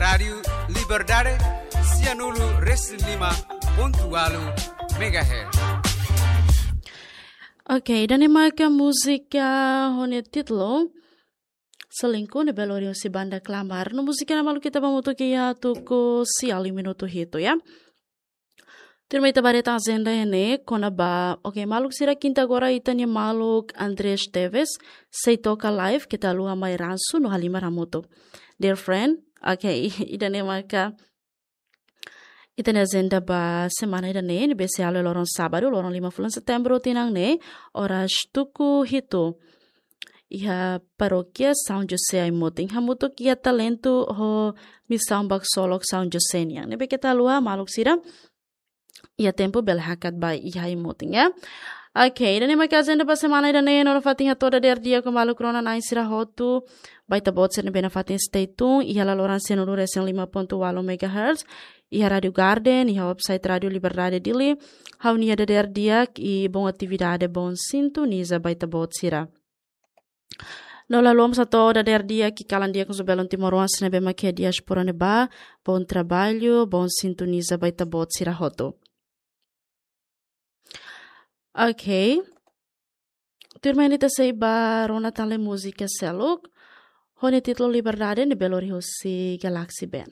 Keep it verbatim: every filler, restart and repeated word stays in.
Rádiu Liberdade, sianulu resin lima pontu walu megahertz. Ok, ida-ne'e maka múzika ho nia títulu Selingkuh ne'ebé lori husi banda Klamar. No múzika ne'e maluk ita bá hamutuk iha tuku sia liu minutu hitu ya. Tuirmai ita bá haree tan ajenda iha ne'e kona-ba. Ok, maluk sira, kinta agora ita-nia maluk Andres Teves sei toka live, keta haluha mai ransu no halimar hamutuk. Dear friend, ok, ida-ne'e maka ita-nia ajenda ba semana ida-ne'e, ne'ebé sei halo loron sábadu, loron lima fulan Setembru tinan ne'e, oras tuku hitu. Iha Parókia São José Aimutin, hamutuk iha Talentu ho Misaun Baksolok São José nian. Ne'ebé keta haluha maluk sira, iha tempu bele hakat ba iha Aimutin ya. Ok, ida-ne'e maka ajenda ba semana ida-ne'e, no nafatin hato'o dadeer di'ak ho maluk rona-na'in sira hotu. Ba ita-boot sira ne'ebé nafatin stay tune iha laloran sianulu resin lima pontu walu megahertz, iha Rádiu Garden, iha website Rádiu Liberdade Dili. Ha'u-nia dadeer di'ak i bom atividade, bom sintoniza ba ita-boot sira. No la haluha mós hato'o dadeer di'ak i kalan di'ak husu belun timoroan sira ne'ebé mak iha diáspora ne'ebá, bom trabalho, bom sintoniza ba ita-boot sira hotu. Ok. Tuirmai ne'e ita sei bá rona tan lee múzika seluk ho nia títulu Liberdade ne'ebé lori husi Galaxy Band.